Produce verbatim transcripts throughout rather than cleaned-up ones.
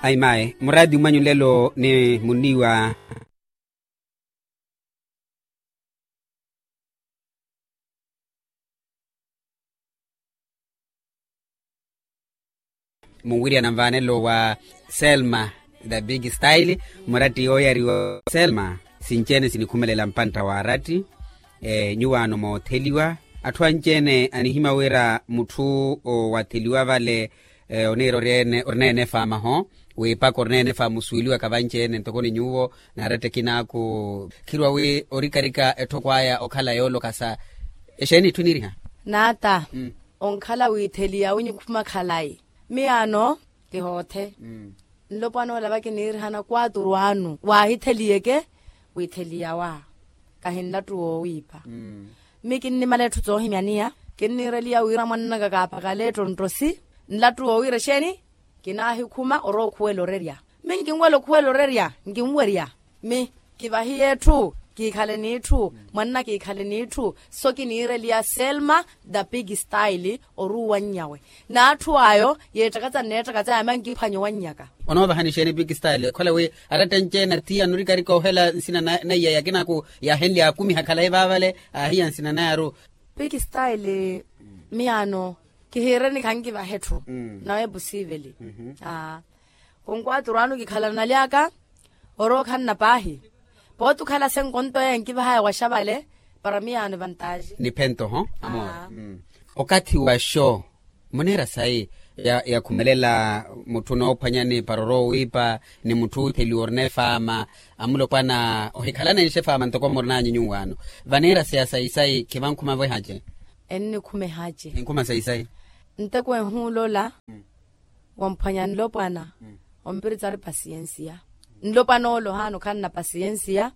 Ayi mayi muraati mwanyu lelo ni muniwa. Munwiriyana nvaanelo wa selma the big style. Muratti yooyariwa selma sinci-ene sinikhumelela mpantta wa aratti. Nyuwaano mootheliwa atthu anci-ene anihimya wira mutthu owatheliwa vale oniira orina ene faamaho wiipaka orina ene faamusuweliwaka vanci-ene ntoko ni nyuwo. Naaratti ekinaaku khiruwa wi orikarika etthoko aya okhala yoolokasa. Exeeni itthu eniiriha? Naata onkhala wiitheliya winyikhuma khalayi. Miyaano kihoothe nlopwana ola vakiniirihana kwaturu anu waahitheliyeke wiitheliyawa. Kahi nlattu woowiipa. Mmi kinnimala etthu toohimyaniya kinniireliya wira mwannaka kaaphakale ettontthosi. Nlattu woowiira exeeni kinaahikhuma orowa okhuwela orerya. Mmi nkinwela okhuwela orerya nkinwerya. Mmi kivahiye etthu kiikhale n'itthu mwanna kiikhale n'itthu. So kiniireliya selma the big style oruuwannyawe. N'atthu ayo yeettakatsa nneettakatsa yamya nkiphwanya owannyaka. Onoovahani exeeni big style okhala wi arattenci-ene athiya anorikarika ohela nsina na iyaya akinaaku yaahenlya akumiha khalayi vaavale aahiya nsina nayaru. Piki style miyaano kihiireni khankivaha etthu nawe epusiiveli. Khunkwaturu anu kikhalana naly'aka orowa okhanna paahi. Pooti okhala senkonto eye nkivahaya waxavale para miyaano evantaji. Niphento ho amor. Okathi wa xo muneera sayi yakhumelela mutthu onoophwanyani para orowa owiipa ni mutthu ootheliwa orina efaama amulopwana ohikhalanenxa efaama ntoko murinanyu nyuwaano. Vaneera saya sayi-sayi khivankhuma vehace. Ennikhuma ehace. Enkhuma sayi-sayi. Nteko ehuula ola wamphwanya nlopwana ompiritsari pasiyensiya. Nlopwana ole ohaana okhanna pasiyensiya.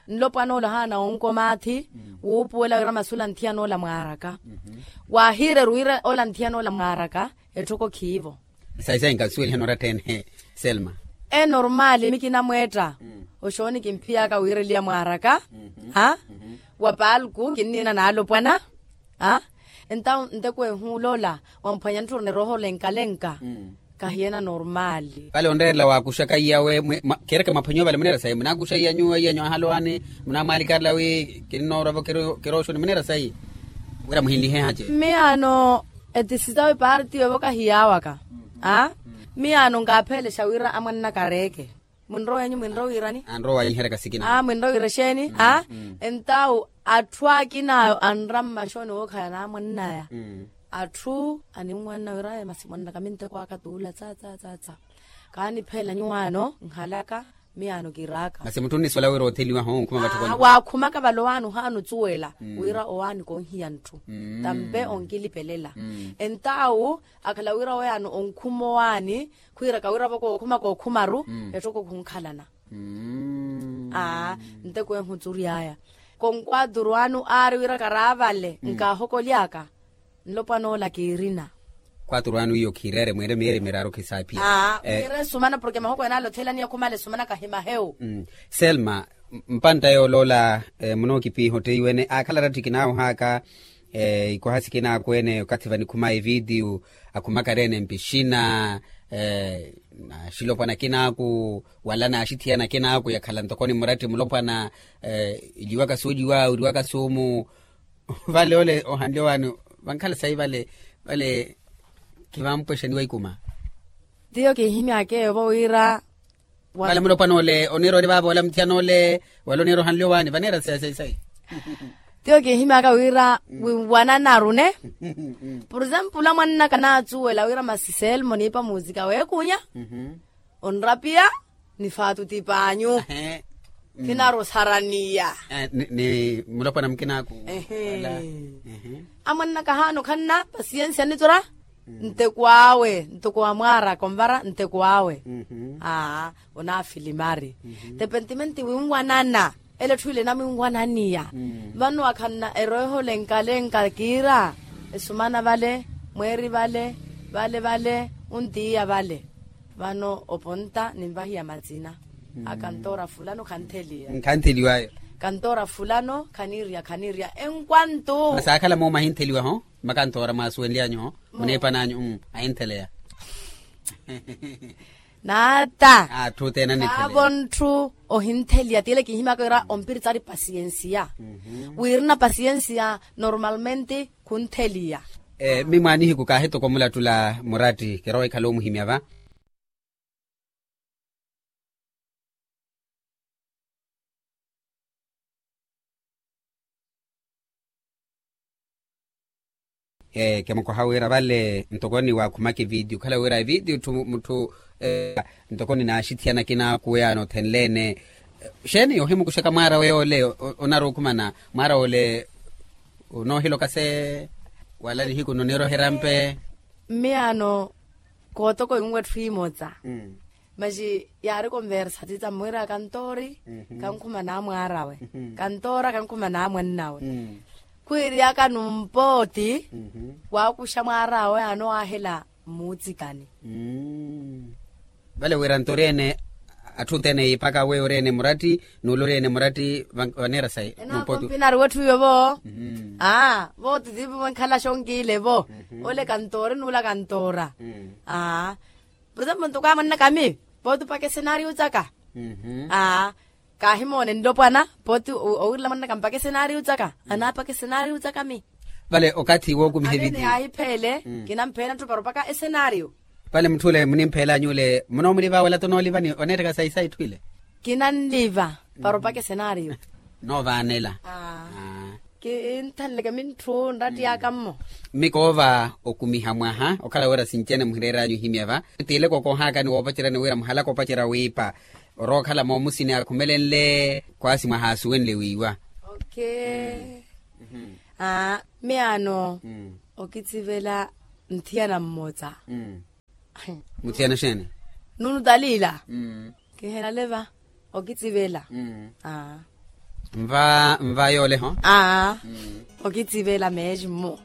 Nlopwana ole ohaana onkomaathi wuupuwela wira masula nthiyan'ola mwaaraka. Waahiireru wira ola nthiyan'ola mwaaraka etthoko khiivo. Sayi sayi nkasuwelihana oratta-ene selma. Enormaali mikinamweetta oxooni kimphiyaka wiireliya mwaaraka. Ha wa palku kinniina naalopwana. Entawu nteko ehuula ola wamphwanya ntthuruna erooho olenka-lenka. Kahiyeena normaali. Vale onreerela waakuxaka iyawe. Kereke mwaphwanyiwa vale muneera sayi munaakuxa iya nyuwo iya nyuwo ahalowaani munaamwaalikarela wi kinnoorwavo kerooxoni muneera sayi wira muhinlihe hace. Miyaano etisi sawe parti yovo kahiyaawaka. Miyaano nkaaphelexa wira amwannaka areeke. Mwinrowa enyu mwinrowa wiirani? Anrowa wanyiherya kasikina. Mwinrowa wiira exeeni? Entawu atthu akina ayo anra mmaxoni wookhala naamwannaya. Atthu animwanna wira masi mwannaka minteko aka tuula tsa tsa tsa tsa. Kaanipheela nyuwaano nhalaka. Miyaano kiraaka masi mutthu onnisola wira otheliwa ho onkhuma vatthu kona waakhumaka vale owaani ohaana ocuwela wira owaani konhiya ntthu. Tampe onkilipelela. Entawu akhala wira oyaani onkhuma owaani khwiiraka wiravo kookhuma kookhumaru. Etthoko khunkhalana. Aa nteko ehu ocury'aya. Konkwaturu anu aari wira karaavale nkaahokoly'aka. Nlopwana ola kiirina. Kwaturu anu iyo khiireere mwiire miyeeri miraaru khisaaphiya. Aa mwiire esumana porke mahoko ene ale othelaniya khumala esumana kahi mahewu. Selma, mpantta yooloola munookipiiha otteiwene aakhala aratthi kinaawohaka. Ikoha sikinaakwene okathi vanikhumaya evitiyu akhumakareene mpixina. Naxilopwana akinaaku wala naaxithiyana akinaaku yakhala ntoko ni muratti mulopwana. Eliwaka sooliwa wiriwaka soomu. Vale ole ohanle owaani vankhala sayi vale vale khivampwexaniwa ikuma. Tiyo kiihimy'akeyo vo wira vale mulopwana ole oniira ori vaava ola muthiyana ole wala oniira ohanle owaani vaneera sayi sayi sayi. Tiyo kiihimy'aka wira winwananaru ne. Por example amwannaka naacuwela wira masi selmo niipa musika weekunya onrapiya ni faatu tipaanyu. Kinaari osaraniya. Ni mulopwana mukinaaku amwannaka ahaana okhanna pasiyensiya nnitora. Nteko awe ntoko wa mwaaraka onvara nteko awe. Aa onaafilimari. Tepentimenti winwanana ele etthu ile enamwinwananiya. Vano akhanna erooho lenkalenka kiira esumana vale mweeri vale vale vale ontiiya vale. Vano oponta ninvahiya matsina. Akantoora fulano khantheliya. Nkhantheliwayo. Kantoora fulano khaniiriya khaniiriya enkwantu. Masi akhala moomu ahintheliwa ho makantoora mwaasuwenlyanyu ho muneepananyu ahintheleya. Naata. Atthu othene anithele. Khaavo ntthu ohintheliya tiile kinhimyaka wira ompiritsari pasiyensiya. Wirina pasiyensiya normalmente khuntheliya. Mimwaanihiku kaahitoko omulattula muratti kirowa ekhala omuhimya va. Kimukoha wira vale ntoko ni waakhumaka evidiyo okhala wira evidiyo etthu mutthu ntoko ni naaxithiyana kinaakuwe yaani othenle-ene. Xeeni ohimukuxaka mwaara we yoole? Onaruukhumana mwaara woole onoohiloka se wala nihiku noniroherya mpe. Mmiyaano kootoko inwe etthu imotsa. Masi yaari konversa titsa mwira kantori kankhumana mwaarawe kantora kankhumana mwannawe. Khwiiryaka numpooti waakuxa mwaarawe anowaahela mmuutsikani. Vale wira ntori ene atthu othene yiipaka weyo ori ene muratti n'ule ori ene muratti vaneera sayi. Enaakompi nari wetthu iwe vo. Aa vo titivo enkhalasha onkiile vo. Ole kantoori n'ula kantoora. Aa por example ntoko amwannaka ami pooti opaka esenario tsaka. Aa kaahimoone nlopwana pooti owirela mwanna kampaka esenario tsaka anaapaka esenario tsaka mi. Vale okathi wookumiha evitiyo. Aahipheele kinampheela ntthupara opaka esenario. Vale mutth'ule munimpheela any'ule munoomuliva wala tonooliva ni oneettaka sayi sayi etthu ile. Kinanliva para opaka esenario. Noovaanela. Kinthanleke mintthu nratti aka mmo. Mmi koova okumiha mwaha okhala wira sinci-ene muhireer'anyu ohimya va. Tiileke okoohaka ni woopacerya ni wira muhalaka opacerya wiipa orowa okhala moomusini akhumelenle khwaasi mwaha asuwenle wiiwa. Aa mmiyaano okitsivela nthiyana mmotsa. Muthiyana xeeni? Nunu talila. Kihelale va okitsivela. Aa nva nva yoole ho. Aa okitsivela meesi mmo.